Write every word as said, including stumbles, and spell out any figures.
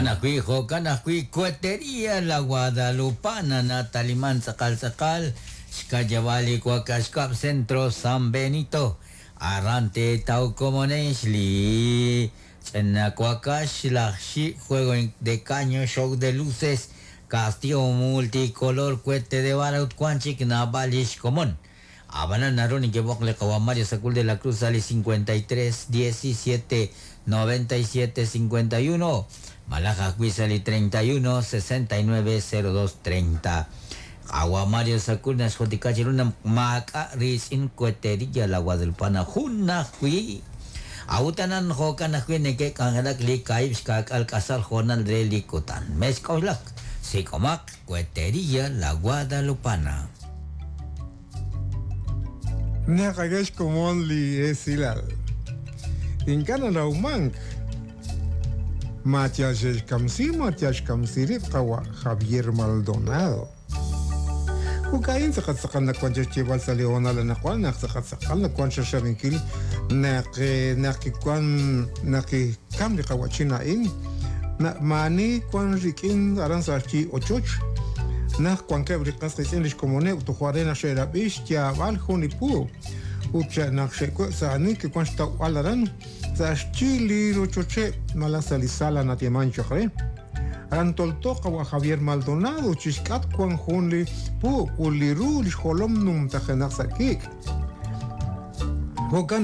Jo'kan ajwi' jo'kan ajwi' Cohetería La Guadalupana nataliman tz'aqal tz'aqal xka'yab'aal li wakax kab' Centro San Benito aran teetaw komonex li ch'ina wakax laj xi' juego de caño show de luces castillo multicolor cohete de bala ut wan chik naab'al lix komon Abanan naru nekeb'oq li qawa Mario Sacul de la Cruz ali cincuenta y tres diecisiete noventa y siete cincuenta y uno malaj ajwi' sa' li treinta y uno sesenta y nueve cero dos treinta Qawa Mario Sacul naxjotika chiru naq maak'a' riitz'in Cohetería La Guadalupana jun ajwi' awutanan jo'kan ajwi' neke'k'anjelak li kaahib' xka'k'al k'asal jo'nal re li kutan mexk'oxlak sik'omaq Cohetería La Guadalupana. Naqagex komon li esilal. Ink'a' nanawmank Matias xkamsi, Matias xkamsi qawa Javier Maldonado. Ukain tzaqatzaqal nakuan xchibal sa Leona la nakuan naq tzaqatzaqal nakuan xaxabinkil naq naq kikuan naq kam li qawachina in na mani kuan rikin aran sa chi ochoch naq kuan keb riqas qitz'in lix komone utujuarena xerab'ix yaab'al jun ipu ut naq xe'kwe sa ani kikuan xtaw'al aran sa xchi li rochoche mala sa li sala natieman choqre aran toltoqa wa Javier Maldonado chixk'at kuan jun li pu uliru lix jolom numtajenaq sa' kik' jo'kan.